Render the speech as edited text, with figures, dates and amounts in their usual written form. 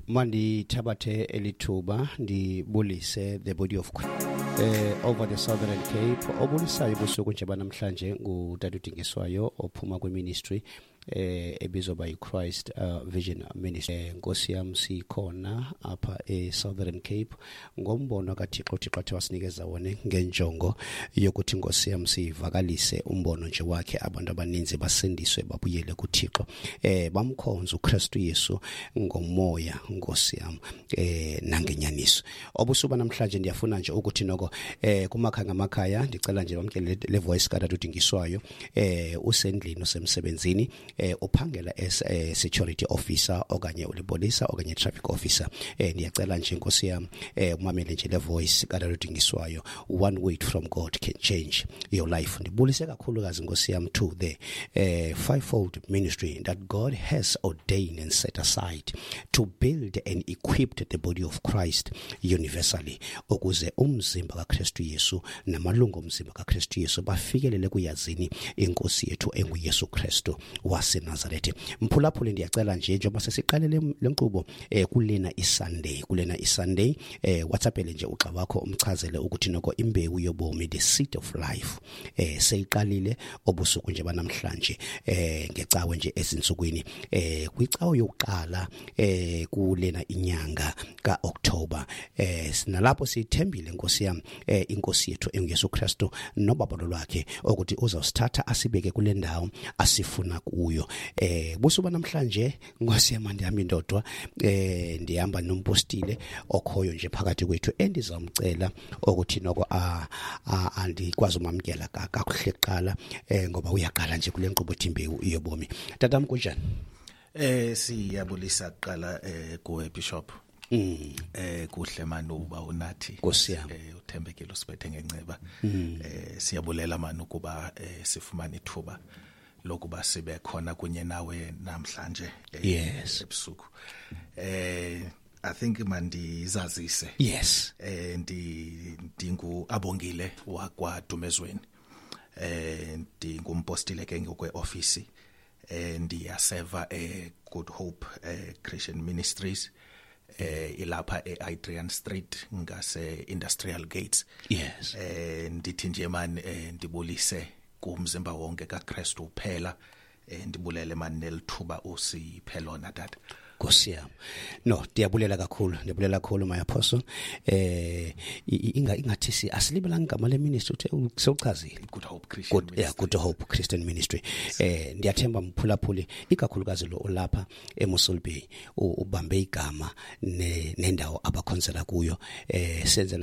Mandithabathe elithuba ndibulise the body of over the Southern Cape. Obulisayo ubusuku nje banamhlanje ngutata uDingiswayo ophuma kwiministry ebizwa by Christ Vision Ministry. Nkosi yam, sikhona apha e-Southern Cape ngombono kaThixo, uThixo athe wasinikeza wona ngenjongo yokuthi, Nkosi yam, sivakalise umbono nje wakhe, abantu abaninzi basindiswe, babuyele kuThixo, bamkhonze uKristu Yesu ngomoya, Nkosi yam, nangenyaniso. Obusuku namhlanje ndiyafuna nje ukuthi noko kumakhaya ngamakhaya ndicela nje bamkele le voice katata uDingiswayo. Usendlini, usemsebenzini, uphangela as security officer okanye ulipolisa okanye traffic officer, ndiyacela nje, Nkosi yam, umamele nje le voice katata uDingiswayo. One word from God can change your life. Ndibulise kakhulukazi, Nkosi yam, to the fivefold ministry that God has ordained and set aside to build and equip the body of Christ universally, ukuze umzimba kaKristu Yesu namalungu omzimba kaKristu Yesu bafikelele kuyazini inkosi yethu enguYesu Kristu waseNazarethe. Mphulaphuli, ndiyacela nje, njengoba sesiqale le nkqubo kulena iSunday, WhatsAppele nje ugxa wakho, umchazele ukuthi noko imbewu yobomi, the seed of life, seyiqalile obusuku nje banamhlanje, ngecawe nje ezinsukwini, kwicawe yokuqala kulena inyanga kaOctober. Sinalapho sithembile, Nkosi yam, inkosi yethu enguYesu Kristu nobabalo lwakhe ukuthi uzawusithatha asibeke kule ndawo asifuna kuyo. Busuku namhlanje, Nkosi yam, andihamba indodwa, ndihamba nompostile okhoyo nje phakathi kwethu endizamcela ukuthi noko andikwazi umamkela kakuhle kuqala, ngoba uyaqala nje kule nkqubo ethi imbewu yobomi. Tatam, kunjani? Siyabulisa kuqala kuwe, Bishop. Kuhle mani uba unathi. Nkosi yam. Uthembekile usiphethe ngenceba. Siyabulela mani ukuba sifumane ithuba lokuba sibe khona kunye nawe namhlanje ebusuku. I think mandizazise. Ndi ndingu Abongile wakwa Dumezweni. Ndingumpostile ke ngokwe office. Ndiyaseva e Good Hope Christian Ministries, ilapha eAdrian Street ngase Industrial Gates. Ndithi nje man ndibulise kumzimba wonke kaKristu uphela, ndibulele man nelithuba usiphe lona, tata. Nkosi yami. No, ndiyabulela kakhulu, ndiyabulela kakhulu, my apostle. Ingathi si asilibelanga igama le ministry, uthe sewuchazile. Good Hope Christian Good, yeah, Ministry. Good Hope Christian Ministry. Ndiyathemba mphulaphuli, ikakhulukazi lo olapha eMossel Bay, ubambe igama nendawo abakhonzela kuyo, senzela